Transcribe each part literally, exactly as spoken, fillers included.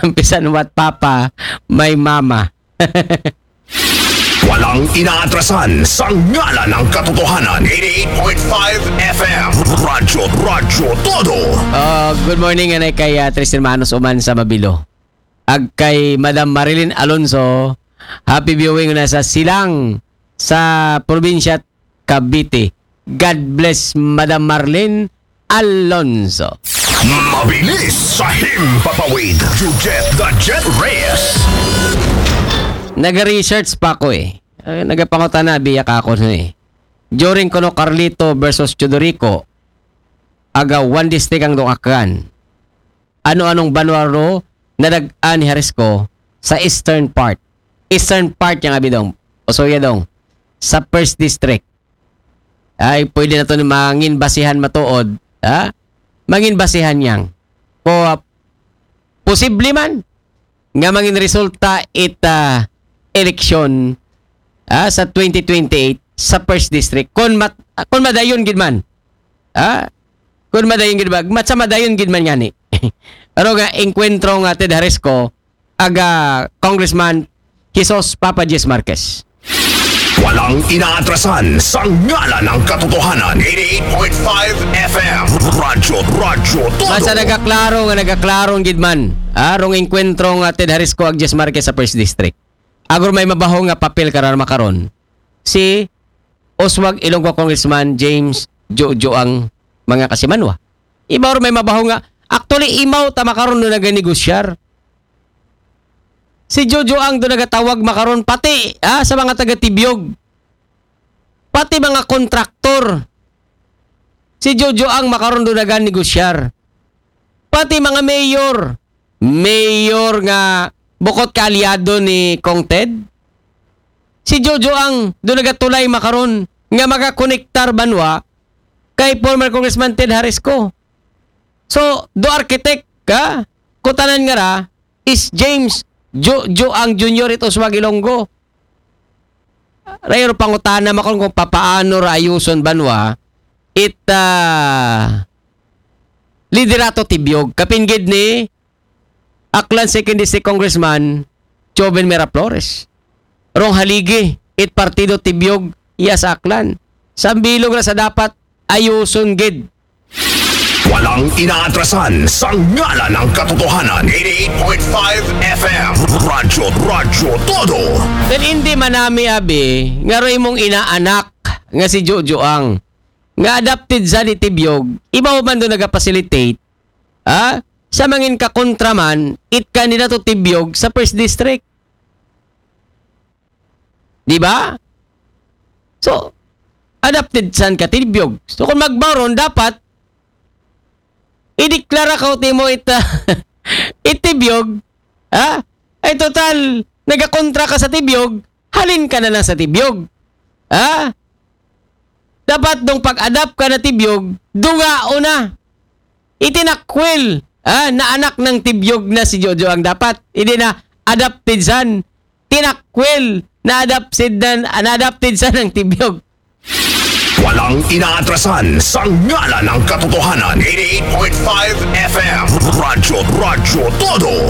Umpisan what papa, my mama. Walang inaatrasan sa ngalan ng katotohanan. eighty-eight point five F M. Radyo, Radyo Todo. Uh, good morning, anay kay uh, Tristan Manos Uman sa Mabilo. Ag kay Madam Marilyn Alonso, happy viewing na sa Silang sa probinsya Cavite. God bless Madam Marlene Alonso. Mabilis sa himpapawid. Jujet the Jet Reyes. Naga-research pa ko eh. Uh, nagapangutana biya ka ako eh. During kono Carlito versus Teodorico, aga one district ang dukakan. Ano-anong banwa ro nadag-an ni Jalisco sa eastern part? Eastern part yang abidong. O so yadong. Sa first district. Ay, pwede na to ni mangin basihan matuod. Ha? Mangin basihan yang. Ko, uh, posible man nga mangin resulta it uh, eleksyon uh, sa twenty twenty-eight sa first district. Kung, mat, kung madayon gid man. Ha? Kung madayon gid ba? Mat sa madayon gid man ngani. Pero nga, enkwentro nga Ted Jalisco, aga Congressman Jesus Papa Jess Marquez. Walang inaatrasan sa ngalan ng katotohanan. eighty-eight point five F M. Radyo, Radyo Todo. Basta nagaklaro nga nagaklaro gid man. Ah, rong enkwentro nga Ted Jalisco ag Jess Marquez sa First District. Agor may mabaho nga papel kararma karon. Si Oswald Ilonggo Congressman James Jojo ang mga kasimanwa. Ibaw may mabaho nga, actually, imaw tama karon do naganigosyar. Si Jojo ang do nagatawag makaron pati ha, sa mga taga Tibyog. Pati mga kontraktor. Si Jojo ang makaron do naganigosyar. Pati mga mayor. Mayor nga bukot kaalyado ni Kong Ted. Si Jojo ang do nagatulay makaron nga magakonektar banwa kay former Congressman Ted Jalisco. So, do architect ka, kutanan nga ra, is James Jo, Jo ang Junior ito sa Ilonggo. Rayro pangutana makon kung papaano ra ayuson banwa it uh, liderato Tibyog. Kapinggid ni Aklan Second District Congressman Joven Miraflores. Rong haligi it partido Tibyog iya sa Aklan. Sambilog na sa dapat ayuson gid. Walang inaatrasan sa ngalan ng katotohanan. eighty-eight point five F M. Radyo, Radyo Todo. Then hindi manami abi nga roy mong inaanak nga si Jojo ang nga adopted sa ni Tibyog, ibaw man do nagapacilitate ha? Sa mangin kakontraman it kandidato Tibyog sa first district. Di ba? So, adopted san ka Tibyog. So, kung magbaron, dapat ideklara ka timo ita itibyog, ha? Ay total, nagakontra ka sa Tibyog, halin ka na lang sa Tibyog. Ha? Dapat dong pag-adapt ka na Tibyog, dungao na. Itinakwil, ha? Na anak ng Tibyog na si Jojo ang dapat. Hindi na adopted son. Tinakwil na adopted na, na adopted son ng Tibyog. Walang inaatrasan sa ngalan ng katotohanan. eighty-eight point five F M. Radyo, Radyo Todo.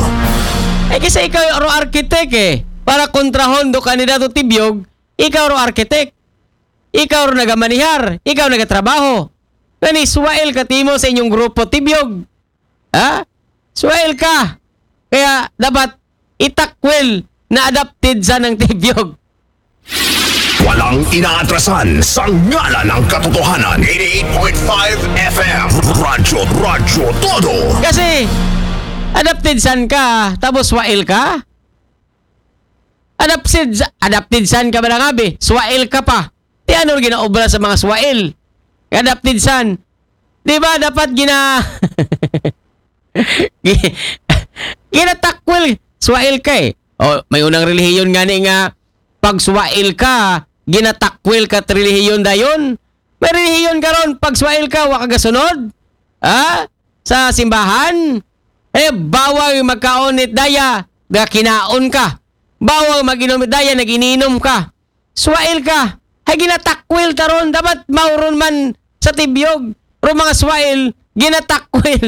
Eh kasi ikaw ro architect eh. Para kontrahon do kandidato Tibyog, ikaw ro architect. Ikaw ro nagamanihar, ikaw nagatrabaho. Ngani, suwail ka timo sa inyong grupo Tibyog. Ha? Suwail ka. Kaya dapat itakwil na adopted sa ng Tibyog. Walang inaatrasan sa ngalan ng katotohanan. eighty-eight point five F M. Radyo, Radyo Todo. Kasi, adopted san ka, tapos suwail ka? Adopted, adopted san ka ba na nga, be? Suwail ka pa. Ti ano ginaobra sa mga suwail? Adopted san? Di ba dapat gina... Gi- ginatakwil, suwail ka eh. O, may unang relihiyon nga ni nga, pag suwail ka, ginatakwil ka relihiyon dayon. May relihiyon karon, pag suwail ka, wa ka gasunod? Ha? Sa simbahan? Eh, bawal magkaon it daya, ga kinaon ka. Bawal mag-inom it daya, nag-ininom ka. Suwail ka. Hay ginatakwil taron, dapat mauron man sa Tibyog. Ro mga suwail, ginatakwil.